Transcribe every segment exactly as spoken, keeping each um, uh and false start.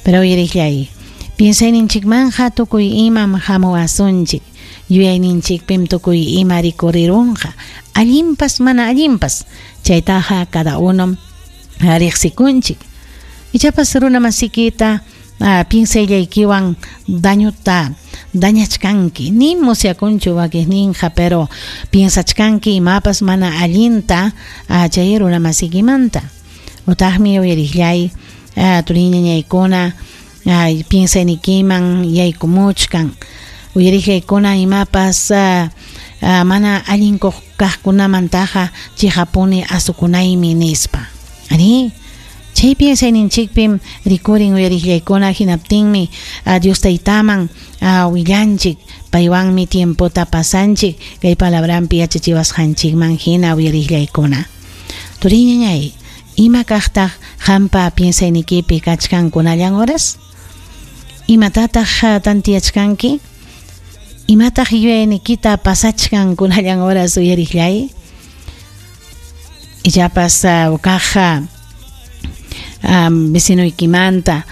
Pero uyariqllay, piensayninchikmanja tukuy imam hamuwasunchik, yuyayninchikpim tukuy ima rikurirunqa, allinpas mana allinpas, chaytaqa cada uno riqsikunchik. Ichapas runa masikita piensayllaykiwan dañuta dañachkanki, ni musyakunchu wakiqninqa, pero piensachkanki imapas mana allinta chay runa masikimanta. Utaqmi uyariqllay, turiñañaykuna piensaynikiman yaykumuchkan, uyariqllaykuna imapas mana allin kaqkunamantaqa chiqapuni asukunaymi nispa. Ari, chay piensayninchikpim rikurin uyariqllaykuna, hinaptinmi Dios taytaman willanchik, paywanmi tiempota pasanchik kay palabranpi yachachiwasqanchikman hina uyariqllaykuna. Turiñañay, ima kaqtaq qampa piensaynikipi kachkan kunallan horas? Imatataq tantiyachkanki? Imataq yuyaynikita pasachkan kunallan horas uyariqllay? Ichapas kaq vecinoykimanta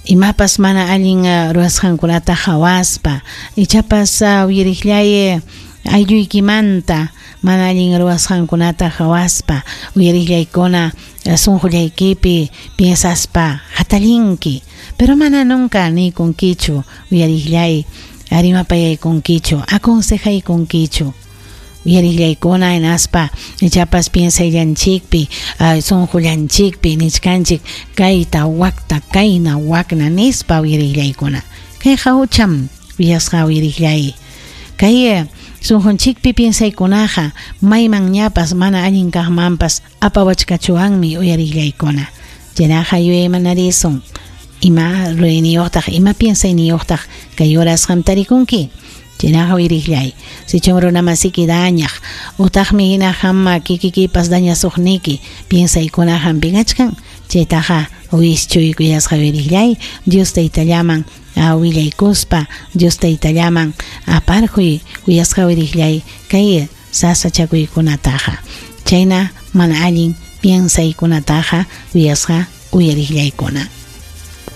imapas mana allin ruwasqankunata hawaspa, ichapas uyariqllay aylluykimanta mana allin ruwasqankunata hawaspa, uyariqllaykuna sunqullaykipi piensaspa hatallinki, pero mana nunca nikunkichu uyariqllay, rimapayaykunkichu, aconsejaykunkichu. Uyariqllaykuna hinaspa ichapas piensayllanchikpi, sunqullanchikpi nichkanchik kayta wakta kayna wakna nispa uyariqllaykuna. Kayqa hucham uyasqa uyariqllay. Kay sunqunchikpi piensaykunaqa mayman ñapas mana allin kaqmanpas apawachkachuwanmi uyariqllaykuna. Chaynaqa yuyaymanarisun, ima ruwayniyuqtaq, ima piensayniyuqtaq kay horas qam tarikunki. Chaynaqa uyariqllay, sichum runa masiki dañaq, utaqmi hina hamma kikikipas dañasuqniki piensaykuna hampikachkan, chaytaqa wischuy kuyasqa uyariqllay, Dios taytallaman willaykuspa, Dios taytallaman aparquy kuyasqa uyariqllay kay sasachakuykunataqa. Chayna mana allin piensaykunataqa kuyasqa uyariqllaykuna.